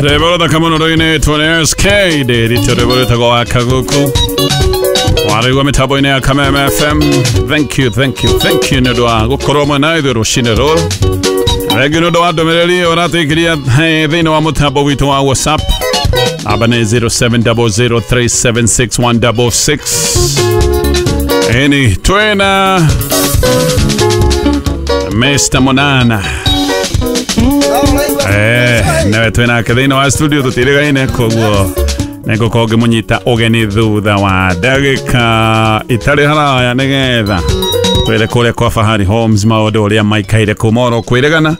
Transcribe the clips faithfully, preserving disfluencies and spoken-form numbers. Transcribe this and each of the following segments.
Rwĩmbo rũthaka mũno rũinĩtwo nĩ S K Ndĩritũ, rwĩmbo rwĩtagwo wa Kaguku warĩgua mĩtambo-inĩ ya Kameme F M. Thank you, thank you, thank you nĩ ũndũ wa gũkorwo mwena ithuĩ rũcinĩ rũrũ. Rĩngĩ nĩ ũndũ wa ndũmĩrĩri ũratũikĩria thĩinĩ wa mũtambo witũ wa WhatsApp, namba nĩ zero seven zero zero three seven six one six six. Ĩni twĩna Mister Monana. Eh, nawe twĩnake thĩinĩ wa studio, tũtirĩgaine, koguo nĩngũkorwo ngĩmũnyita ũgeni thutha wa ndagĩka itarĩ haraya nĩgetha twĩre kũrĩa kwa Fahari Homes maũndũ ũrĩa maikaire kuma oro kwĩrĩgana.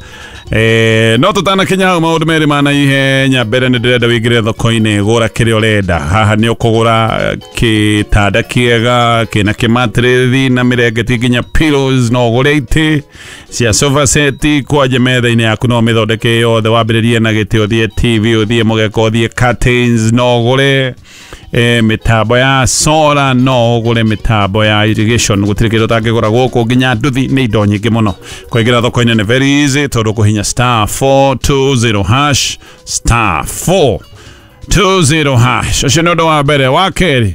Eh, no tũtanakinya hau, maũndũ merĩ ma naihenya. Mbere nĩ ndĩrenda wĩingĩre thoko-inĩ, gũra kĩrĩa ũrenda. Haha nĩ ũkũgũra gĩtanda kĩega kĩna kĩmatrĩthi na mĩrengeti nginya pillows, no ũgũre itĩ cia sofa set kwanje metha-inĩ yaku, no mĩthondeke yothe, wambĩrĩrie na gĩtĩ, ũthiĩ T V, ũthiĩ mũgeka, ũthiĩ curtains, no ũgũre eh, mĩtambo ya solar, no ũgũre mĩtambo ya irrigation. Gũtirĩ kĩndũ ũtangĩgũra gũkũ, nginya nduthi, nĩ indo nyingĩ mũno. Kũingĩra thoko-inĩ nĩ very easy tondũ kũhinya star four two zero hash, star four two zero hash. Ũcio nĩ ũndũ wa mbere. Wa kerĩ,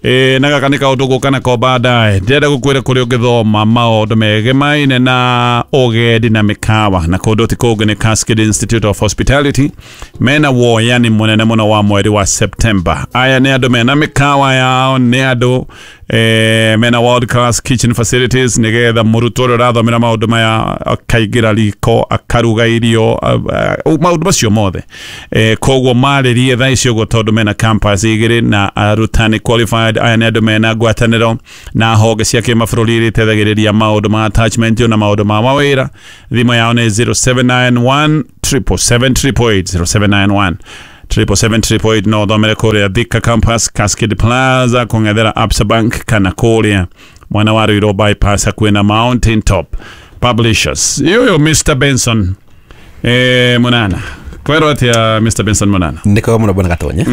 ĩ na gaka nĩ kaũndũ gũka nako baadaye, ndĩrenda gũkwĩra kũrĩa ũngĩthoma maũndũ megemaine na ũgendi na mĩkawa, na kũndũ ti kũngĩ nĩ Cascade Institute of Hospitality. Mena woyani mũnene mũno wa mweri wa September. Aya nĩ andũ mena mĩkawa yao, nĩ andũ eh, mena world class kitchen facilities, nĩgetha mũrutwo ũrĩa ũrathomera maũndũ maya akaingĩra riko akaruga irio, uh, uh, maũndũ macio mothe. eh, koguo marĩrie thaa ici ũguo tondũ mena campus igĩrĩ na arutani qualified. Aya nĩ andũ mena ngwatanĩro na honge cia kĩmabũrũri iria iteithagĩrĩria maũndũ ma attachment na maũndũ ma mawĩra. Thimũ yao nĩ zero seven nine one seven seven seven eight eight eight, zero seven nine one seven seven seven eight eight. No ũthomere kũrĩa Thika campus, Cascade Plaza, kũng'ethera Absa Bank, kana kũrĩa mwena wa Ruiru bypass hakuhĩ na Mountain Top Publishers. Yuyu Mister Benson eh, Munana, kwerwo atia Mister Benson Munana? Nĩ kwega mũno, bwana Gatonye.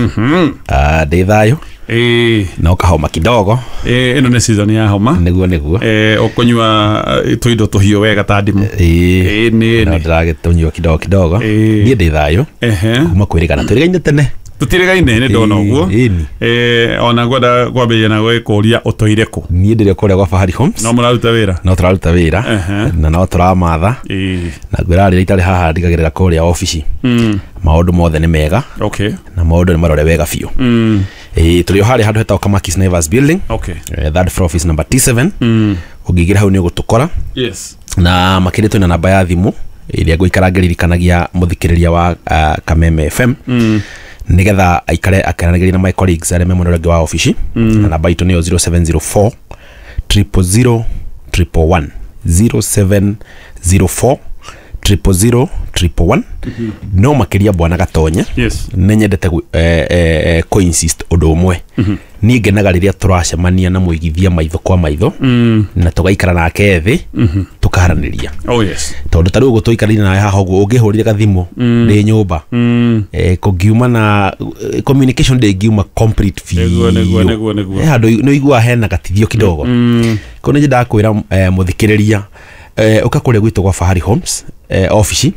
Ah, ndĩ thayũ. Eh, no kahoma kidogo. eh, ĩno nĩ season ya homa. Nĩguo, nĩguo. eh, ũkũnyua eh, tũindo tũhiũ wega ta ndimũ. Ĩĩ. Ĩĩ, nĩ no nĩ ndĩragĩtũnyua kidogo kidogo. Ĩĩ. Niĩ ndĩ thayũ Ehe. kuma kwĩrĩgana, twĩrĩgaine tene. Tũtirĩgaine, nĩ ndona ũguo. Ĩĩ, ĩni. Eh, ona ngwenda kwambĩrĩria na gwĩkũria ũtũire kũ? Niĩ ndĩrĩ kũrĩa gwa Fahari Homes. No mũraruta wĩra? No tũraruta wĩra. Ehe. Na no tũramatha. Ĩĩ. Na ngwĩra rĩrĩa itarĩ haha ndigagĩrĩra kũrĩa obici Mm. maũndũ mothe nĩ mega okay na maũndũ nĩ marore wega biũ. Mm. Ĩĩ, tũrĩ o harĩa handũ hetagwo Kamakis Naivas Building, okay eh, third floor, office number T seven. Mm. Ũngĩingĩra hau nĩ ũgũtũkora. Yes Na makĩria twĩna namba ya thimũ ĩrĩa ngũikara ngĩririkanagia mũthikĩrĩria wa uh, Kameme F M mm. nĩgetha aikare akĩaranagĩria na my colleagues arĩa me mwena ũrĩa ũngĩ wa obici mm. Na namba itũ nĩyo zero seven zero four zero zero zero one one, zero seven zero four zero zero zero one one. No makĩria, bwana Gatonye, yes nĩ nyendete gũ- eh, eh, eh, kũ-insist ũndũ ũmwe. Niĩ ngenaga rĩrĩa tũracemania na mũigithia maitho kwa maitho mm. na tũgaikara nake thĩ tũkaranĩria, oh yes tondũ ta rĩu ũguo tũikarĩire nawe haha ũguo, ũngĩhũrire gathimũ ndĩ nyũmba, mm. eh, kũngiuma na eh, communication ndĩngiuma complete Nĩguo, nĩguo, biũ. nĩguo, nĩguo. He handũ nĩ ũiguaga hena gatithio kidogo. Mm. Koguo nĩ nyendaga kwĩra eh, mũthikĩrĩria eh, ũka kũrĩa gwitũ gwa Fahari Homes eh, obici,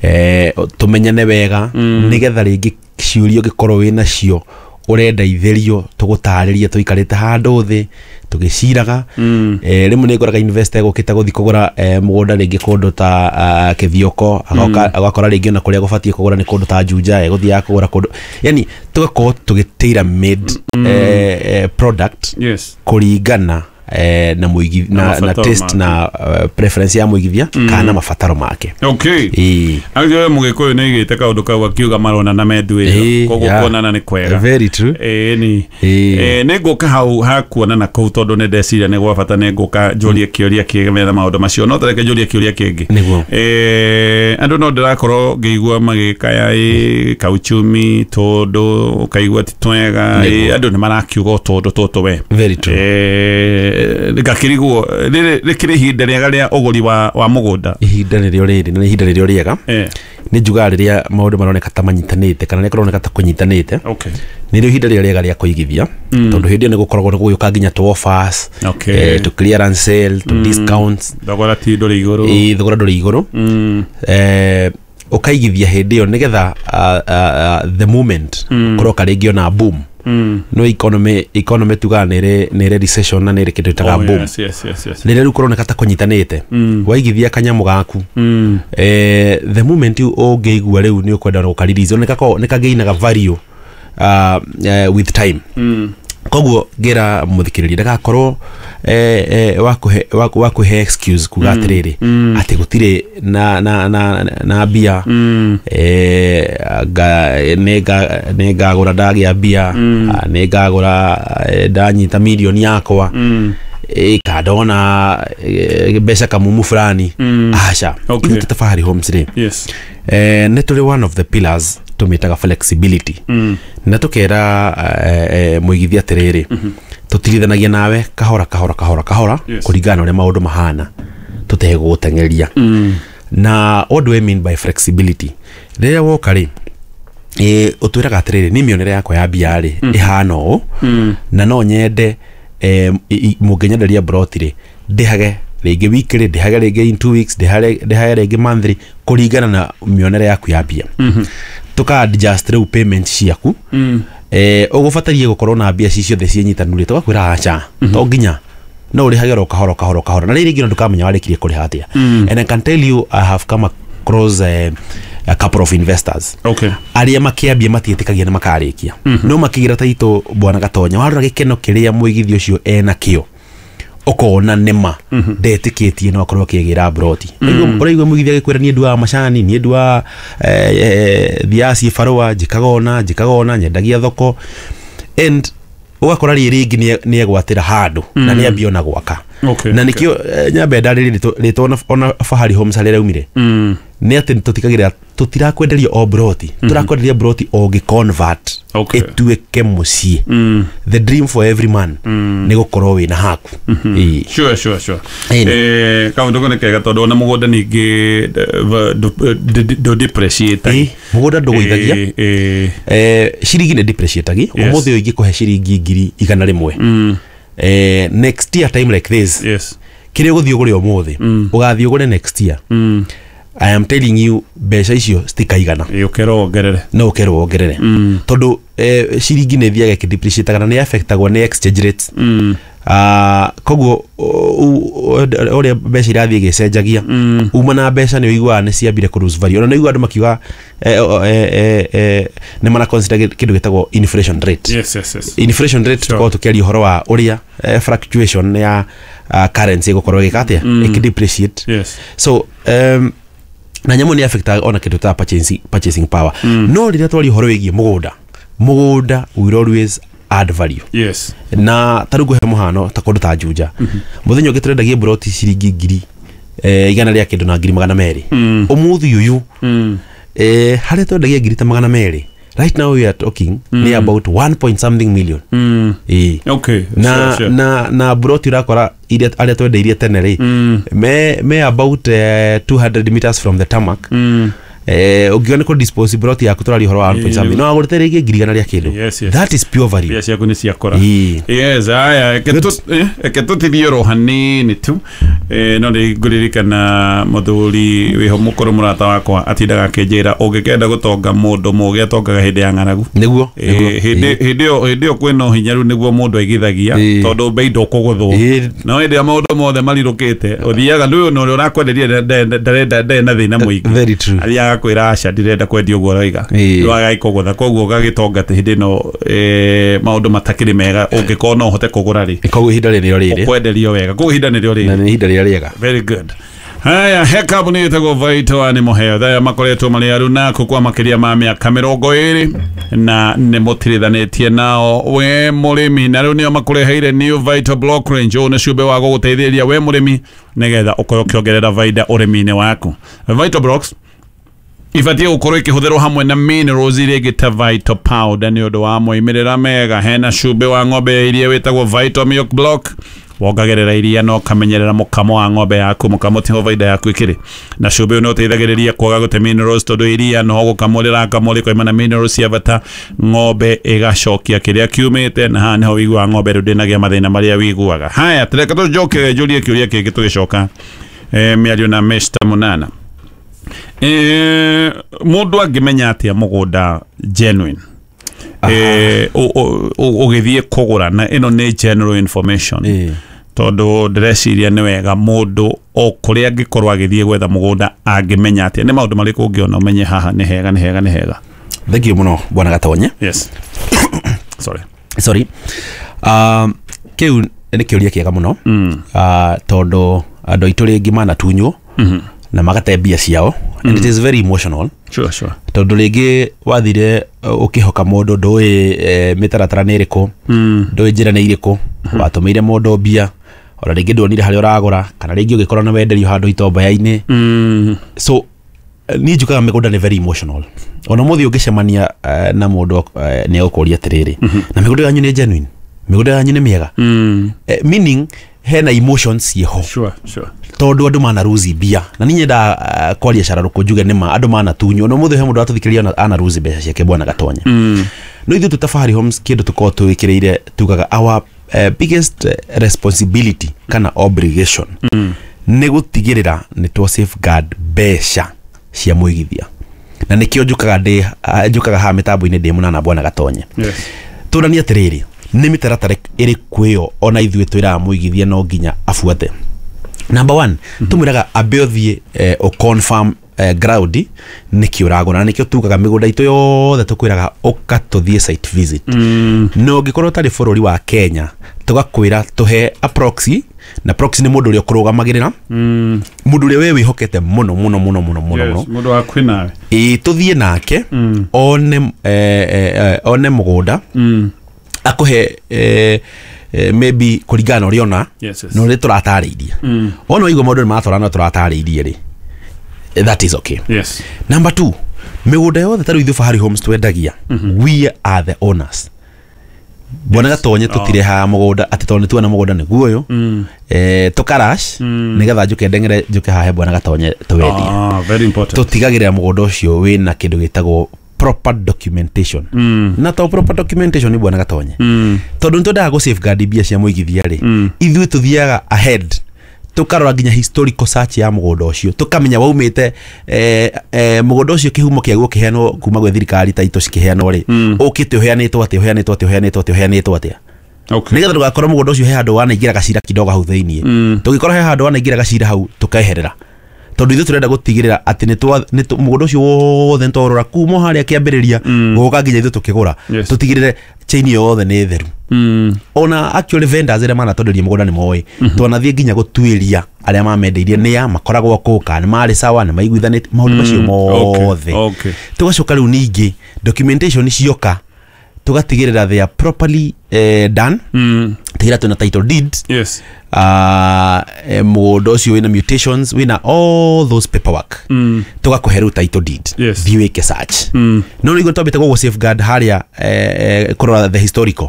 eh, tũmenyane wega mm. nĩgetha rĩngĩ ciũria ũngĩkorwo wĩ nacio ũrenda itherio, tũgũtarĩrie tũikarĩte handũ thĩ tũgĩciraga. Mm. eh, rĩmwe nĩ ngoraga investor egũkĩte gũthiĩ kũgũra eh, mũgũnda rĩngĩ kũndũ ta uh, Kĩthioko, agoka agakora rĩngĩ ona kũrĩa gũbatiĩ kũgũra nĩ kũndũ ta Juja, egũthiaga kũgũra kũndũ, yani tũgakorwo tũgĩ tailor made eh, eh, product yes kũringana eh, na mũigi Na na, na mabataro taste make. na uh, preference ya mũigithia kana mabataro make. Okay Ĩĩ. Agio mũgĩkũyũ nĩ aigĩte kaũndũ kau akiuga maronana menduĩro. Ĩĩ, Koguo yeah. kuonana nĩ kwega. Very true. Ĩĩ ni. Ĩĩ. Ĩĩ, nĩ ngũka hau hakuonana kũu tondũ nĩ ndeciria nĩ gwa bata, nĩ ngũka njũrie kĩũria kĩgetha maũndũ macio, no tareke njũrie kĩũria kĩngĩ. Nĩguo. Eh, andũ no ndĩrakorwo ngĩigua magĩkaya ĩ kauchumi tũndũ ũkaigua ti twega ĩ, Nĩguo. andũ nĩ marakiuga o tũndũ tũtũ we. Very true. Eh, ngakĩrigwo rĩrĩ rĩkĩrĩ ihinda rĩega rĩa ũgũri wa, wa mũgũnda? Ihinda nĩrĩo rĩrĩ na nĩ ihinda rĩrĩo rĩega. Eh, Nĩ njugaga rĩrĩa maũndũ maroneka ta manyitanĩte kana nĩ kũroneka ta kũnyitanĩte, okay nĩrĩo ihinda rĩrĩa rĩega rĩa kũigithia, tondũ hĩndĩ ĩyo nĩ gũkoragwo nĩ gũgĩũka nginya tũ offers, Okay. eh, tũ clearance sale, tũ discounts. Thogora ti ndũrĩ igũrũ. Ĩ, thogora ndũrĩ igũrũ. Mm, eh, Ũkaigithia hĩndĩ ĩyo nĩgetha uh, uh, the moment mm. kũroka rĩngĩ ona boom. Mm. No economy economy tugaga nĩ nĩ recession na nĩ kĩndũ ĩtaga Oh, boom. yes, yes, yes, yes. Rĩrĩa rĩu kũroneka ta kũnyitanĩte, mm. waigithia kanyamũ gaku, mm. eh, the moment ũngĩigua rĩu nĩ ũkwenda gũkarelease, nĩ kagĩinaga value uh, uh, with time. Mm. Koguo ngĩra mũthikĩrĩria ndagakorwo eh, eh, wakũhe wakũhe excuse kuga atĩrĩrĩ mm. atĩ gũtirĩ na na na na mbia, mm. eh, nĩ ngagũra ndagĩa mbia, mm. nĩ ngagũra ndanyita mirioni yakwa, mm. ĩka ndona mbeca kamumu fulani. Mm. Aca. Okay. Ithuĩ ta Fahari Homes rĩ, Yes. eh, nĩ tũrĩ one of the pillars tũmĩtaga flexibility. Mm. Na tũkera eh, eh, mũigithia atĩrĩrĩ, mm -hmm. tũtirithanagia nawe kahora kahora kahora kahora, Yes. kũringana na ũrĩa maũndũ mahana, tũtegũgũteng'eria. Mm. Na what do I mean by flexibility? Rĩrĩa woka rĩ, eh, ũtwĩraga atĩrĩrĩ, niĩ mĩonere yakwa ya mbia rĩ ĩhana ũũ, na no nyende eh, mũngĩnyenderia broti rĩ, ndĩhage rĩngĩ weekly, ndĩhage rĩngĩ in two weeks, ndĩhage ndĩhage rĩngĩ monthly, kũringana na mĩonere yaku ya mbia. Tũka adjust rĩu payment ciaku. Mm. Eh, ũgũbatarie gũkorwo na mbia ci ciothe ciĩ nyitanu rĩ, tũgakwĩra aca, to nginya no ũrĩhage oro kahora kahora kahora, na rĩrĩ rĩngĩ ndũkamenya warĩkirie kũrĩha atĩa. Mm. And I can tell you I have come across uh, a couple of investors Okay. arĩa makĩambia matiĩtĩkagia nĩ makarĩkia, no makĩgira taitũ bwana Gatonya, warora gĩkeno kĩrĩa mũigithia ũcio ena kĩo, ũkona nĩma ndetĩkĩtie no akorwo akĩgĩra broti. Ũraigua mũigithia agĩkwĩra niĩ nduaga macani, niĩ nduaga thiaga cibarũa, njĩkaga ũna njĩkaga ũna, nyendagia thoko, and ũgakora rĩ rĩngĩ nĩ egwatĩra handũ na nĩ ambia ona gwaka. Okay, na nĩkĩo nyambe ndarĩrie rĩtwa ona Fahari Homes harĩa rĩaumire, nĩ atĩ tũtikagĩra tũtirakwenderia o broti, tũrakwenderia broti ũngĩ convert Okay. ĩtuĩke mũciĩ. The dream for every man nĩ gũkorwo wĩna haku. Ĩĩ. Sure, sure, sure. Ĩni. Eh, kaũndũ kau nĩ kega tondũ ona mũgũnda ningĩ ndũ depreciate. Ĩĩ, mũgũnda ndũgũithagia. Ĩĩ, ĩĩ. Eh, ciringi nĩ depreciatagi. Yes. Ũmũthĩ ũyũ ingĩkũhe ciringi ngiri igana rĩmwe, eh, next year time like this, Yes. kĩrĩa ũgũthiĩ ũgũre ũmũthĩ, ũgathiĩ ũgũre next year, I am telling you mbeca icio citikaigana. Ĩĩ, ũkerwo wongerere. No ũkerwo wongerere, tondũ eh, ciringi nĩ ĩthiaga ĩkĩdepreciataga na nĩ affectagwo nĩ exchange rates. Mm. Uh, koguo ũrĩa mbeca irathiĩ igĩcenjagia, uma na mbeca nĩ ũiguaga nĩ ciambire kũ lose value. Ona nĩ ũiguaga andũ makiuga eh, eh, eh, eh, nĩ mara consider kĩndũ gĩtagwo inflation rate. Yes, yes, yes. Inflation rate, Sure. tukorwo tũkĩaria ũhoro wa ũrĩa eh, fluctuation ya uh, currency ĩgũkorwo ĩgĩka atĩa, ĩkĩdepreciate. Yes. So um, na nyamũ nĩ affectaga ona kĩndũ ta purchasing, purchasing power. Mm. No rĩrĩa twaria ũhoro wĩgiĩ mũgũnda, mũgũnda will always add value. Yes. Na ta rĩu ngũhe mũhano ta kũndũ ta Juja, mũthenya ũngĩ tũrendagia broti ciringi ngiri eh, igana rĩa kĩndũ na ngiri magana merĩ. Ũmũthĩ ũyũ, Mm. eh, harĩa twendagia ngiri ta magana merĩ, right now we are talking mm. nĩ about one point something million. Mm. Ĩĩ. Okay. Na Sure, sure. na na broti ũrakora iria arĩa twendeirie tene rĩ, Mm. me me about uh, two hundred meters from the tarmac. Mm. Eh, ũngiona kũ dispose broti yaku tũraria ũhoro wa one point Ĩĩ. something, no agũrĩte rĩngĩ ngiri igana rĩa kĩndũ. Yes, yes. That is pure value. Mbia ciaku nĩ ciakũra. Ĩĩ. Yes, aya, reke tũ- eh, reke tũtithie oro hanini tu. Eh, no nĩ ngũririkana mũthuri wĩho mũkũrũ mũrata wakwa atindaga akĩnjĩra ũngĩkenda gũtonga mũndũ mũgĩ atongaga hĩndĩ ya ng'aragu. Nĩguo, Eh, nĩguo. hĩndĩ hĩndĩ ĩyo hĩndĩ ĩyo kwĩna ũhinyaru nĩguo mũndũ aigithagia, Ĩĩ. tondũ mbei ndũkũgũthwo. Ĩĩ. No hĩndĩ ĩrĩa maũndũ mothe marirũkĩte ũthiaga ndũyũ na ũrĩa ũrakwenderia ndarenda ndarĩ na thĩna mũingĩ. Very true. Athiaga kwĩra aca ndirenda kwendia ũguo ũroiga, Ĩĩ. rĩu agagĩkũgũtha, koguo ũgagĩtonga atĩ hĩndĩ ĩno eh, maũndũ matakĩrĩ mega ũngĩkorwo no ũhote kũgũra rĩ, Koguo ihinda rĩrĩ rĩrĩ ũkwenderio wega, koguo ihinda nĩrĩo na rĩrĩ. nĩ ihinda rĩrĩa rĩega. Very good. Haya, he kambuni ĩtagwo Vital Animal Health aya makoretwo marĩ arunaku kwa makĩria ma mĩaka mĩrongo ĩrĩ na nĩ mũtirithanĩtie nao we mũrĩmi, na rĩu nĩo makũreheire New Vital Block Range. Ũyũ nĩ cumbĩ wa gũgũteithĩrĩria we mũrĩmi nĩgetha ũkorwo ũkĩongerera baida ũrĩmi-inĩ waku. Vital Blocks ibatiĩ gũkorwo ikĩhũthĩrwo hamwe na minerals iria ingĩ ta Vital Powder nĩ ũndũ wa moimĩrĩra mega. Hena cumbĩ wa ng'ombe ya iria wĩtagwo Vital Milk Block, wongagĩrĩra iria na ũkamenyerera mũkamo wa ng'ombe yaku, mũkamo tiho baida yaku ĩkĩrĩ. Na cumbĩ ũyũ nĩ ũteithagĩrĩria kwaga gũte minerals tondũ iria no gũkamwo rĩrakamwo rĩkoima na minerals cia bata, ng'ombe ĩgacokia kĩrĩa kiumĩte, na haha nĩho wĩiguaga ng'ombe rĩu ndĩnagĩa mathĩna marĩa wĩiguaga. Haya, tũreke tũcoke njũrie kĩũria kĩngĩ tũgĩcoka eh, mĩario na Mister Munana. Eh, mundu angimenya atia mugunda genuine eh ugithie kugura na ino ni general information eh tondu ndireciria ni wega mundu o kuria angikorwo agithie gwetha mugunda angimenya atia ni maundu mariku ungiona umenye haha ni hega ni hega ni hega. Thank you muno bwana Gatonye. Yes. Sorry. Sorry. Um kiu ni kiuria kiega muno. Mm. Uh, tondu andu aitu ringi manatunywo mm na magate mbia ciao mm. And it is very emotional. Sure, sure. Tondu ringi wathire ukihoka mundu ndui e, mitaratara ni iriku mm. ndui njira ni iriku mm. watumiire mundu mbia ona ringi ndwonire haria uragura kana ringi ugikorwo na wenderio handu itomba-inĩ mm. So ni njukaga migunda ni very emotional ona muthi ungicemania uh, na mundu uh, ni agukuria atiriri mm -hmm. na migunda yanyu ni genuine, migunda yanyu ni miega mm. eh, meaning hena emotions ciho. Sure, sure. Tondu andu manaruzi mbia na ni nyenda uh, kwaria cararuku njuge ni ma andu manatunywo no muthi he mundu atuthikiriria anaruzi mbeca ciake bwana Gatonye mm. No ithuĩ tũ Fahari Homes kindu tukorwo twikiriire tugaga our uh, biggest responsibility kana obligation mm. ni gutigirira ni twa safeguard mbeca cia mwigithia na nikio njukaga ndi njukaga ha mitambo-inĩ ndi munana bwana Gatonye. Yes. Turania atiriri ni mitaratara iriku iyo ona ithuĩ twiraga mwigithia no nginya abuate. Number one, mm -hmm. tumwiraga ambe uthie eh, o confirm eh, ground niki uragura na nikio tugaga migunda itu yothe tukwiraga uka tuthie site visit mm. No ngikorwo tari bururi wa Kenya tugakwira tuhe a proxy na proxy ni mundu uria ukurugamagirira mm. mundu uria we wihokete muno muno muno muno muno yes, muno mundu wa kwinawe ii tuthie nake mm. one eh, eh, one mugunda mm. akuhe eh, eh, maybe kuringana na uria ona yes, yes. na uria turatarĩirie mm. ona waigua maundu ni maratwarana na turatarĩirie ri that is okay. Yes. Number two, migunda yothe ta riu ithuĩ Fahari Homes twendagia mm -hmm. we are the owners bwana Gatonye tutirehaga mugunda ati tondu nituona mugunda niguo uyu mm. eh tukarash mm. nigetha njuke ndengere njuke hahe bwana Gatonye twendie. Ah, very important. Tutigagirira mugunda ucio wina kindu gitagwo proper documentation mm. na to proper documentation ni bwana Gatonye mm. tondu nitwendaga gu safeguard mbia cia mwigithia ri mm. ithuĩ tuthiaga ahead tukarora nginya historical search ya mugunda ucio tukamenya waumite eh, eh, mugunda ucio kihumo kiaguo kiheanwo kuma gwe thirikari ta ito cikiheanwo ri mm. ukite uheanitwo atia uheanitwo atia uheanitwo atia uheanitwo atia okay. Nigetha ndugakorwo mugunda ucio he handu wanaingira gacira kidogo hau thiini mm. tugikorwo he handu wanaingira gacira hau tukeherera tondu ithuĩ turenda gutigirira ati ni twa mugunda ucio wothe nitwarora kuma haria kiambiriria guka nginya ithuĩ tukigura Yes. tutigirire chain yothe ni theru mm. ona actually vendors arĩa manatonderia mugunda ni moĩ mm -hmm. twanathie nginya gutuiria arĩa mamendeirie nĩa makoragwo kũ kana nĩ marĩ sawa nĩ maiguithanĩtie maũndũ macio mothe okay. okay. tugacoka rĩu ningĩ documentation cioka tugatigĩrĩra they are properly eh, done mm. tigĩrĩra twĩna title deed Yes. uh, eh, mũgũnda ũcio wĩna mutations wĩna all those paperwork mm. tũgakũhe rĩu title deed Yes. thiĩ wĩke search mm. no nĩguo twambĩte gũgũ safeguard harĩa eh, eh, kũrora the historical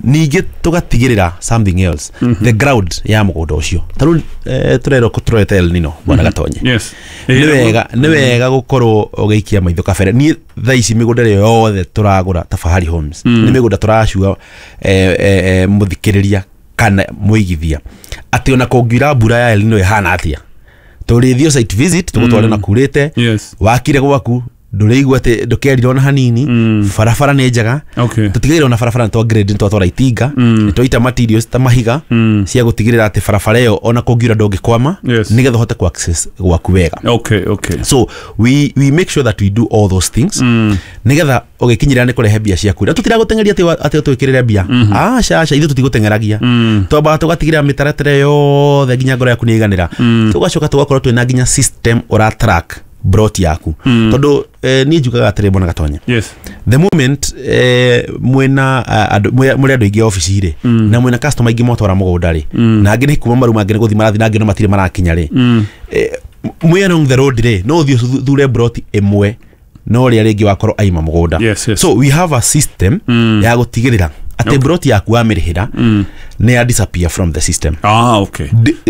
ningĩ tũgatigĩrĩra something else mm -hmm. the ground ya mũgũnda ũcio ta rĩu eh, tũrerwo tũrorete El Nino bwana mm -hmm. Gatonye Yes. nĩ wega nĩ wega gũkorwo ũgĩikia maitho kabere niĩ thaa ici mĩgũnda ĩrĩa yothe tũragũra ta Fahari Homes Mm. nĩ mĩgũnda tũracua eh, eh, eh, mũthikĩrĩria kana mũigithia atĩ ona kũngiura mbura ya El Nino ĩhana atĩa tũrĩthiĩ site visit tũgũtware Mm. na kurĩte Yes. wakire gwaku ndũrĩigua atĩ ndũkerira ona hanini Mm. barabara nĩ njega Okay. tũtigĩrĩra ona barabara nĩ twa grade nĩ twatwara itinga Mm. nĩ twaita materials ta mahiga Mm. cia gũtigĩrĩra atĩ barabara ĩyo ona kũngiura ndũngĩkwama Yes. nĩgetha ũhote ku access gwaku wega Okay, okay. so we, we make sure that we do all those things Mm. nigetha ũgĩkinyĩrĩra nĩ kũrehe mbia ciaku na tũtiragũteng'eria atĩ atĩ ũtwĩkĩrĩre mbia aca aca ithuĩ tũtigũteng'eragia Mm. twambaga tũgatigĩrĩra mĩtaratara yothe nginya ngoro yaku nĩ ĩiganĩra Mm. tũgacoka tũgakorwo twĩna nginya system ũra track brot yaku Mm. tondu eh, niĩ njugaga atĩrĩ bwana Gatonye Yes. the moment eh, mwena uh, andũ mũrĩ andũ aingĩ obici rĩ Mm. na mwena customer aingĩ mwatwara mũgũnda rĩ Mm. na angĩ nĩ kuma maruma angĩ nĩ gũthiĩ marathiĩ na angĩ no matirĩ marakinya rĩ Mm. eh, mwĩ along the road rĩ no ũthiĩ ũthure broti ĩmwe no ũrĩa rĩngĩ wakorwo aima mũgũnda Yes, yes. so we have a system Mm. ya gũtigĩrĩra atĩ Okay. broti yaku wamĩrĩhĩra Mm. Nĩ ya disappear from the system. Ah, okay.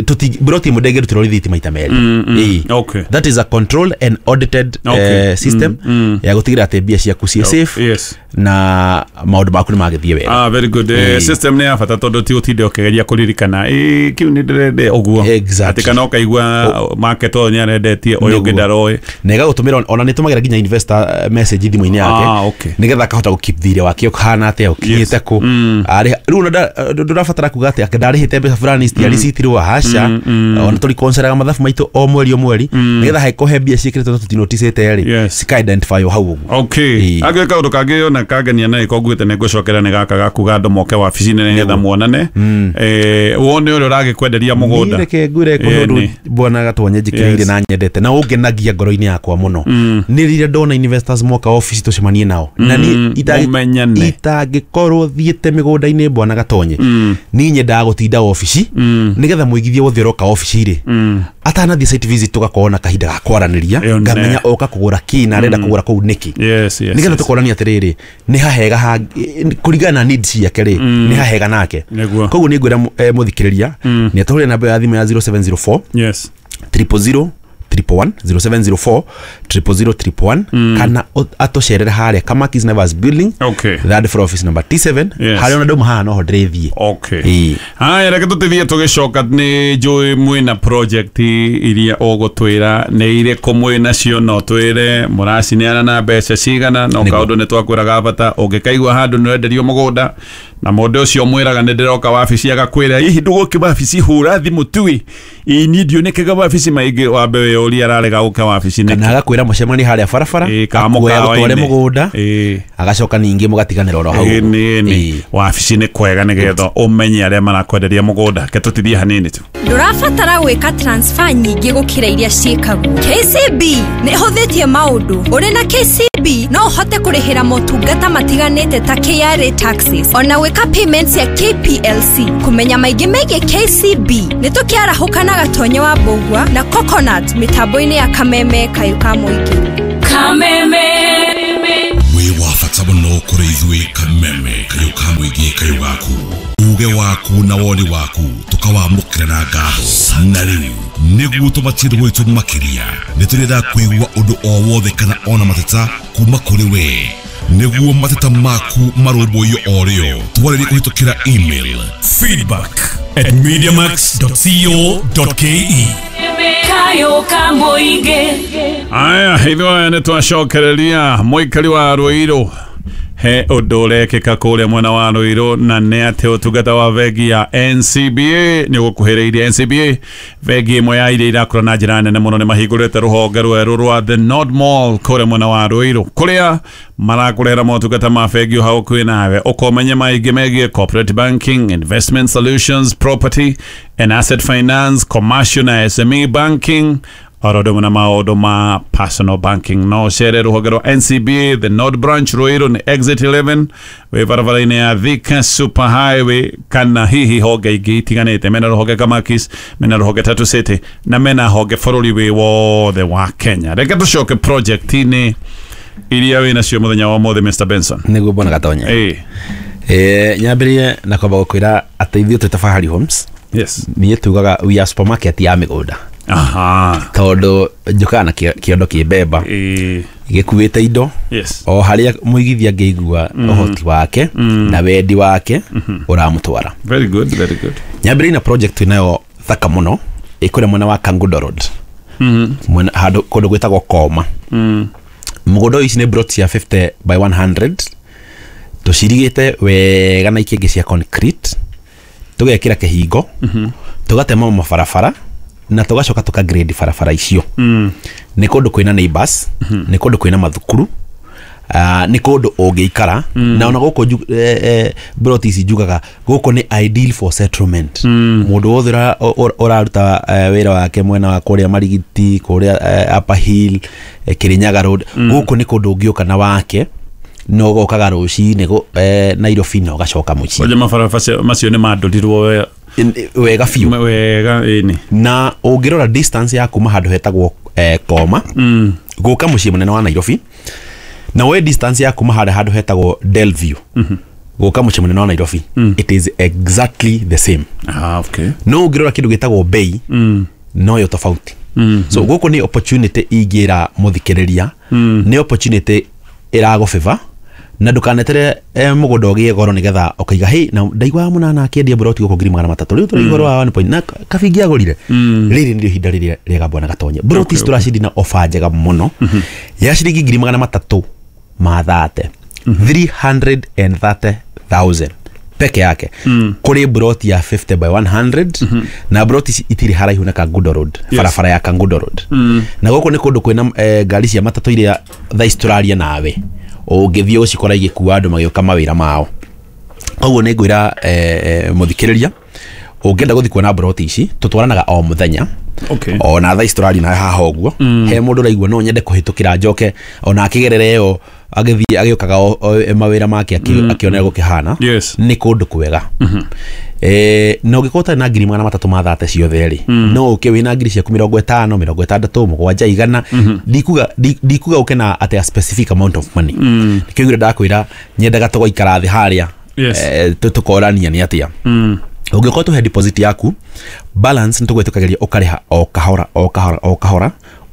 Tuti broti ĩmwe ndĩngĩrutĩrwo rithiti maita merĩ. Mm, mm. Ĩĩ. Okay. That is a controlled and audited Okay. eh, system Mm, mm. ya gũtigĩrĩra atĩ mbia ciaku ciĩ safe Yes. na maũndũ maku nĩ magĩthiĩ wega. Ah, very good. Eh, Ĩĩ. system nĩ ya bata tondũ ti ũtinde ũkĩgeria kũririkana ĩ kĩu nĩ ndĩrende ũguo. Exactly. Atĩ kana ũkaigua market ũyũ nĩ arendetie ũyũ ũngĩ Nĩguo. ndaroĩ. Na ĩgagũtũmĩra, ona nĩ tũmagĩra nginya investor eh, message thimũ-inĩ yake Ah, okay. nĩgetha akahota gũ keep thirĩ wake ũhana atĩa, ũkinyĩte Yes. kũ. Mm. Arĩha- rĩu ona nda- ndũrabatara kuga atĩ ake ndarĩhĩte mbeca fulani citiarĩcitirwo, aca. Ona tũrikonseraga mathabu maitũ o mweri o mweri nĩgetha hangĩkorwo he mbia ciĩkĩrĩtwo na tũtinoticĩte rĩ, Yes. cika identify o hau ũguo. Okay. Ĩĩ. Angĩ kaũndũ kangĩ ona kangenia na ĩko nguĩte nĩ ngũcokera nĩ gaka ga kuga andũ moke wabici-inĩ nĩgetha muonane. Eh, wone ũrĩa ũragĩkwenderia mũgũnda. Niĩ reke ngwĩre kũhe Ĩĩ, ũndũ nĩ. bwana Gatonye njĩkĩrĩire Yes. na nyendete na ũngenagia ngoro-inĩ yakwa mũno nĩ rĩrĩa ndona investors moka obici tũcemanie nao na niĩ itangĩ- Mũmenyane. itangĩkorwo thiĩte mĩgũnda-inĩ, bwana Gatonye, niĩ nyendaga gũtinda obici nĩgetha mũigithia wothe ũroka obici rĩ, atanathiĩ site visit tũgakorwo na kahinda ga kwaranĩria. Ĩyo nĩ. Ngamenya oka kũgũra kĩ na arenda kũgũra kũu nĩkĩ, Yes, yes. nĩgetha yes. tũkonania atĩrĩrĩ, nĩ hahega ha kũringana na needs ciake rĩ, nĩ hahega nake. Nĩguo. Koguo nĩ ngwĩra eh, mũthikĩrĩria nĩ atũhũrĩre namba ya thimũ ya zero seven zero four Yes. triple zero triple one, zero seven zero four triple zero triple one, kana o- atũcerere harĩa Kamakis Nevers building, Okay. third floor, office number T seven. Yes. Harĩa ona ndauma haha noho ndĩrĩthiĩ. Okay. Ĩĩ. Haya, reke tũtithie tũgĩcoka nĩ njũĩ mwĩna project iria ũgũtwĩra nĩ irĩkũ mwĩ nacio, no twĩre mũracineana na mbeca cigana, no Nĩguo. kaũndũ nĩ twakwĩraga bata ũngĩkaigua handũ nĩ ũrenderio mũgũnda na mũndũ ũcio mwĩraga nĩ ndĩroka wabici agakwĩra hihi ndũgũke wabici, hũra thimũ tui ĩ niĩ ndionekaga wabici maingĩ, wambe wĩyũrie ararega gũka wabici nĩkĩ. Kana agakwĩra mũcemanie harĩa barabara, Ĩĩ, kana akuoya mũkawa-inĩ. gũtware mũgũnda, Ĩĩ. agacoka ningĩ mũgatiganĩra oro hau. Ĩĩ, nĩ nĩ Ĩĩ. Wabici nĩ kwega nĩgetha ũmenye arĩa marakwenderia mũgũnda. Ke tũtithie hanini tu. Ndũrabatara gwĩka transfer nyingĩ gũkĩra iria ciĩkagwo. K C B nĩ ĩhũthĩtie maũndũ. Ũrĩ na K C B no ũhote kũrĩhĩra motungata matiganĩte ta K R A taxes ona gwĩka payments ya K P L C. Kũmenya maingĩ megiĩ K C B nĩ tũkĩarahũka na Gatonye wa Mbũgua na Coconut mĩtambo-inĩ ya Kameme kayũ ka mũingĩ. Kameme. Wĩ wa bata mũno kũrĩ ithuĩ Kameme kayũ ka mũingĩ, kayũ gaku, uge waku na woni waku tũkawamũkĩra na ngatho. Na rĩu nĩguo tũmatie gwitũ makĩria, nĩ tũrenda kũigua ũndũ o wothe kana ona mateta kuma kũrĩ we, nĩguo mateta maku marũmbũiyo o rĩo. Twarĩrie kũhĩtũkĩra email feedback at mediamax dot co dot ke. Kayũ ka mũingĩ. Aya, ithuĩ aya nĩ twacokereria mũikari wa Rũirũ he ũndũ ũrekĩka kũrĩa mwena wa Rũirũ, na nĩ atĩ ũtungata wa bengi ya N C B A nĩ ũgũkuhĩrĩirie. N C B A, bengi ĩmwe ya iria irakũra na njĩra nene mũno, nĩ mahingũrĩte rũhonge rwerũ rwa The Nord Mall kũrĩa mwena wa Rũirũ, kũrĩa marakũrehera motungata ma bengi o hau hakuhĩ nawe. Ũkomenye maingĩ megiĩ corporate banking, investment solutions, property and asset finance, commercial na S M E banking, oro ũndũ ũmwe na maũndũ ma personal banking. No ũcere rũhonge rwa N C B A The Nord Branch Ruiru, nĩ exit eleven wĩ barabara-inĩ ya Thika Super Highway, kana hihi honge ingĩ itiganĩte. Mena rũhonge Kamakis, mena rũhonge Tatu City, na mena honge bũrũri wĩ wothe wa Kenya. Reke tũcoke project-inĩ iria wĩ nacio mũthenya wa ũmũthĩ, Mister Benson. Nĩguo bwana Gatonye. Ĩĩ. Eh, nyambĩrĩrie na kwamba gũkwĩra atĩ ithuĩ twĩ ta Fahari Homes, yes niĩ tugaga we are supermarket ya mĩgũnda, aha tondũ njũkaga na kĩ- kĩondo kĩ mbemba Ĩĩ. gĩkuĩte indo yes o harĩa mũigithia angĩigua ũhoti wake na wendi wake ũramũtwara. Very good, very good. Nyambĩrĩrie na project twĩnayo thaka mũno ĩkũrĩa mwena wa Kangundo Road, mwena handũ kũndũ gwĩtagwo Koma. Mũgũnda ũyũ, ici nĩ plot cia fifty by one hundred, tũcirigĩte wega na ikĩngĩ cia concrete, tũgekĩra kĩhingo, tũgatema mabarabara na tũgacoka tũka grade barabara icio. Nĩ kũndũ kwĩna neighbors, nĩ kũndũ kwĩna mathukuru, Uh, nĩ kũndũ ũngĩikara na ona gũkũ nju- eh, eh, plot ici njugaga gũkũ nĩ ideal for settlement. Mũndũ wothe ũra- ũ- ũraruta eh, wĩra wake mwena wa kũrĩa Marigiti, kũrĩa eh, Upper Hill, eh, Kirinyaga Road, gũkũ nĩ kũndũ ũngĩũka na wake na ũgokaga rũcinĩ gũ- eh, Nairobi na ũgacoka mũciĩ. Oje mabarabara macio nĩ mandũrirwo we- Wega biũ. Wega, ĩni. Na ũngĩrora distance ya kuma handũ hetagwo eh, Koma mm. gũka mũciĩ mũnene wa Nairobi, na we distance ya kuma harĩa handũ hetagwo Delview mm -hmm. Gũka mũciĩ mũnene wa Nairobi, it is exactly the same. Ah, okay. No ũngĩrora kĩndũ gĩtagwo bei, noyo tofauti. So gũkũ nĩ opportunity ingĩra mũthikĩrĩria, nĩ opportunity ĩragũbĩba na ndũkanetere eh, mũgũnda ũgĩe goro nĩgetha ũkaiga hey, na ndaigua mũnana akĩendia mburoti gũkũ ngiri magana matatũ, rĩu tũrĩ igũrũ wa one point na kabingi agũrire. Rĩrĩ nĩrĩo ihinda rĩrĩa rĩega, bwana Gatonye. Mburoti ici tũracindi na ofa njega mũno ya ciringi ngiri magana matatũ ma thate, three hundred and thirty thousand peke yake, kũrĩ mburoti ya fifty by one hundred, na mburoti ici itirĩ haraihu na Kangundo Road. Yes. Barabara ya Kangundo Road, na gũkũ nĩ kũndũ kwĩna eh, ngari cia matatũ iria thaa ici tũraria nawe ũngĩthiĩ ũcikora igĩkua andũ magĩũka mawĩra mao. Koguo nĩ ngwĩra eh, eh, mũthikĩrĩria, ũngĩenda gũthiĩ kuona mburoti ici, tũtwaranaga o mũthenya. Okay. Ona thaa ici tũraria nawe haha ũguo, he mũndũ ũraigua no nyende kũhĩtũkĩra njoke ona akĩgerera ĩyo agĩthiĩ agĩũkaga o- o- mawĩra make akĩ- akĩonera gũkĩhana. Yes. Nĩ kũndũ kwega. Eh, na ũngĩkorwo ũtarĩ na ngiri magana matatũ ma thate ciothe rĩ, no ũke wĩna ngiri ciaku mĩrongo ĩtano, mĩrongo ĩtandatũ, mũgwanja, igana. Ndikuga ndi- ndikuga ũke na atĩ a specific amount of money. Nĩkĩo ngwĩra, ndakwĩra nyendaga tũgaikara thĩ harĩa, Yes. eh, tũ- tũkorania nĩ atĩa ũngĩkorwo tũhe deposit yaku, balance nĩ tũgwĩtũkagĩria ũkarĩha o kahora o kahora o kahora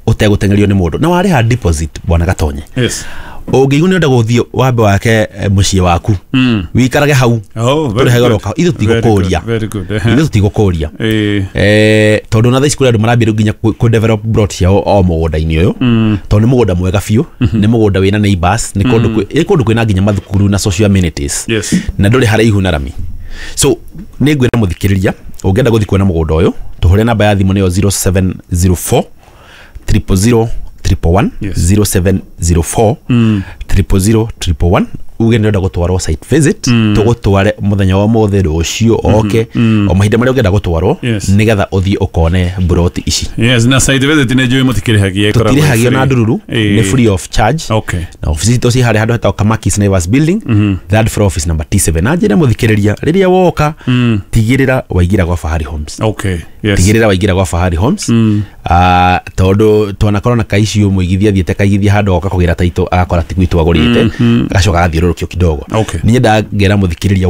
ũtegũteng'erio nĩ mũndũ. Na warĩha deposit, bwana Gatonye, Yes. ũngĩigua nĩ ũrenda gũthiĩ wambe wake eh, mũciĩ waku wĩikarage hau, Oh, very tũrĩhage good. oro kahora. Ithuĩ Very good, tũtigũkũria. very good. Ehe. Ithuĩ tũtigũkũria. Eh. Eh, tondũ na thaa ici kũrĩ andũ marambia rĩu nginya kũ- kũ develop plot ciao o mũgũnda-inĩ ũyũ, tondũ nĩ mũgũnda mwega biũ, nĩ mũgũnda wĩna neighbors, nĩ kũndũ kwĩ- nĩ kũndũ kwĩna nginya mathukuru na social amenities, Yes. na ndũrĩ haraihu na rami. So nĩ ngwĩra mũthikĩrĩria, ũngĩenda gũthiĩ kuona mũgũnda ũyũ, tũhũre namba ya thimũ, nĩyo zero seven zero four triple zero triple one. Yes. zero seven zero four triple zero triple one, uge nĩ ũrenda gũtwarwo site visit. Tũgũtware mũthenya wa mũthĩ, rũciũ, oke o mahinda marĩa ũngĩenda gũtwarwo, Yes. nĩgetha ũthiĩ ũkone mburoti ici. Yes, na site visit nĩ njũĩ mũtikĩrĩhagia, ĩkoragwo Tũtirĩhagio free. na ndururu, Eh. nĩ free of charge. Okay. Na ofici citũ ciĩ harĩa handũ hetagwo Kamakis Naivas Building, third floor, office number T seven. Na njĩre mũthikĩrĩria, rĩrĩa woka, tigĩrĩra waingĩra gwa Fahari Homes. Okay. Yes. Tigĩrĩra waingĩra gwa Fahari Homes, Ah, tondũ twanakorwo na kaicio mũigithia athiĩte kaigithia handũ agoka kũgĩra taitũ agakora ti gwitũ agũrĩte, agacoka agathiũrũrũkio kidogo. Okay. Nĩ nyendaga ngera mũthikĩrĩria.